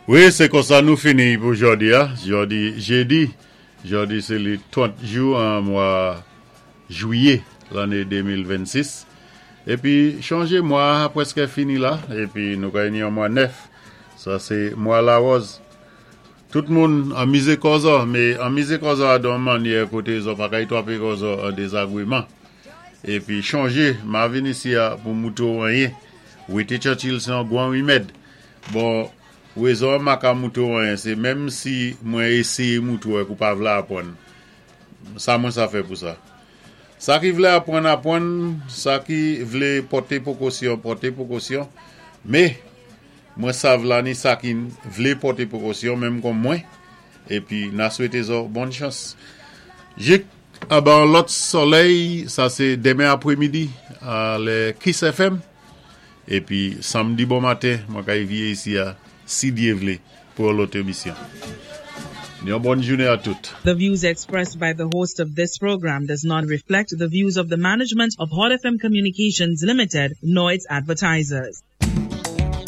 Wi, sé konsa nou fini pou jòdi-a, jòdi jédi. Jòdi sé li 30 jou an mwa jwiyé lanné 2026. Épi chonjé mwa-a pwèskè fini la, épi nou kay ni yon mwa nèf. Sa sé mwa lawòz. Tout moun anmizé kò zò, mé anmizé kò zò a don mannyè koté zò pa kay twapé kò zò an dézagwéman. Épi chonjé, ma vin isi-a pou moutré-w anyen. Wété Churchill sé yon gwan wimèd. Bon, wézon an ma ka moutré-w anyen sé menm si mwen éséyé moutré-w èk ou pa vlé apwann. Sa mwen sa fè pou sa? Sa ki vlé apwann, apwann, sa ki vlé pòté pwékosyon, pòté pwékosyon. Mé, mwen sav la ni sa ki vlé pòté pwékosyon menm kon mwen, épi na swété zò bòn chans. Jik anba yon lòt sòlèy, sa sé denmen apwémidi a lè Kiss FM. Épi sanmdi bon maten, mwen kay viyé isi-a, si Dyé vlé, pou yon lòt émisyon. Yon bòn jounen a tout. The views expressed by the host of this program does not reflect the views of the management of Hot FM Communications Limited nor its advertisers.